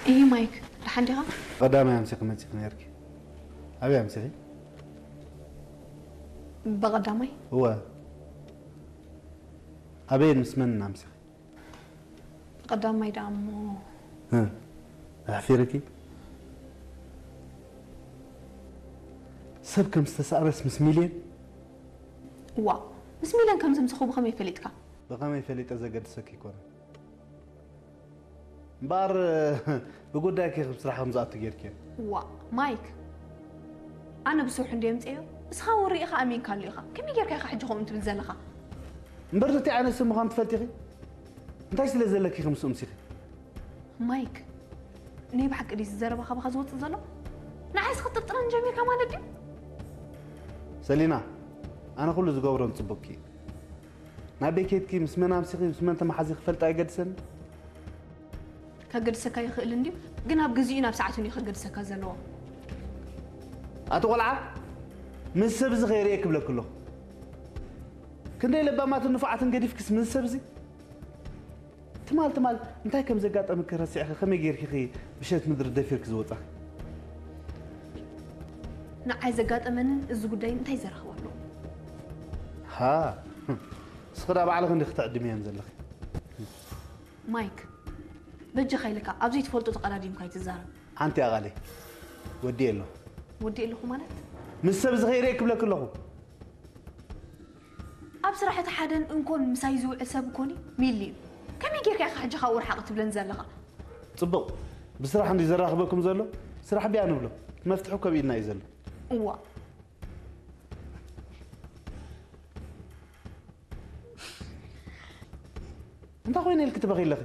እሂ ማይክ፣ ደሓን ዲኻ? ቀዳማይ ኣምሲኺ መጺኺ ነይርኪ። ኣበይ ኣምሲኺ? ብቐዳማይ? እወ። ኣበይን ምስ መንን ኣምሲኺ? ብቐዳማይ ደኣ እሞ እ፣ ኣሕፊርኪ? ሰብ ከም ዝተሳእረስ ምስ ሚልዮን? ዋ፣ ምስ ሚልዮን ከም ዘምሰኹ ብኸመይ ፈሊጥካ? ብኸመይ ፈሊጠ ዘገድሰኪ ኣይኮነን። እምበኣር ብጉዳይኪ ከም ስራሕ ከም ዝኣቱ ጌርኪ። ዋ፣ ማይክ፣ ኣነ ብስርሑ እንደ የምፅዮ እስኻ እውን ርኢኻ ኣሚንካሉ ኢኻ። ከመይ ጌርካ ኢኻ ሕጂ ከምኡ ትብል ዘለኻ? እምበር ነቲ ዓይነት ሰብ ምዃኑ ትፈልጢኺ? እንታይ ስለ ዘለኪ ከምስኡ ምሲኺ? ማይክ፣ ናይ ብሓቂ ድዩ እዚ ዘረባ ካባኻ ዝወፅእ ዘሎ? ንዓይስ ክትጥርጥረን ጀሚርካ ማለት ድዩ? ሰሊና፣ ኣነ ኩሉ ዝገብሮን ጽቡቅኪ እዩ። ናበይ ኬድኪ፣ ምስ መን ኣምሲኺ፣ ምስ መን ተመሓዚ ክፈልጥ ኣይገድሰኒ። ከገድሰካ ይኽእል እንድዩ፣ ግን ኣብ ግዚኡ ናብ ሰዓቱን እዩ ከገድሰካ ዘለዎ። ኣቲ ቆልዓ፣ ምስ ሰብ እዚ ከይርእየ ክብለኪ ኣለኹ። ክንደይ ለባማትን ንፉዓትን ገዲፍክስ ምስ ሰብ እዚ? ትማል ትማል እንታይ ከም ዘጋጠመኪ ረሲዕኺ ከመይ ጌርኪ ኢኺ ብሸት ምድሪ ደፊርኪ ዝወጻኺ? ንዓይ ዘጋጠመንን እዚ ጉዳይን እንታይ ዘራኽቦ ኣለዎ? ሃ፣ እስኺ ዳ ባዕልኺ እንዲኺ ትዕድምየን ዘለኺ። ማይክ፣ በጃኻ ኢልካ ኣብ ዘይትፈልጦ ተቐዳዲምካ ኣይትዛረብ። ሓንቲ ኣቓለይ ወዲኤ ኣለኹ። ወዲኤ ኣለኹ ማለት? ምስ ሰብ እዚ ከይርእየ ክብለኪ ኣለኹ። ኣብ ስራሕ እቲ ሓደን እንኮን ምሳይ ዝውዕል ሰብ እኮኒ ሚሊ እዩ። ከመይ ጌርካ ኢኻ ሕጂ ካብኡ ርሓቕ ትብለኒ ዘለኻ? ጽቡቕ፣ ብስራሕ እንዲ ዘራኽበኩም ዘሎ ስራሕ ቢያ ንብሎ። መፍትሑ ከብ ኢድና እዩ ዘሎ። እዋ፣ እንታይ ኮይነ ኢልኪ ትበኺ ኣለኺ?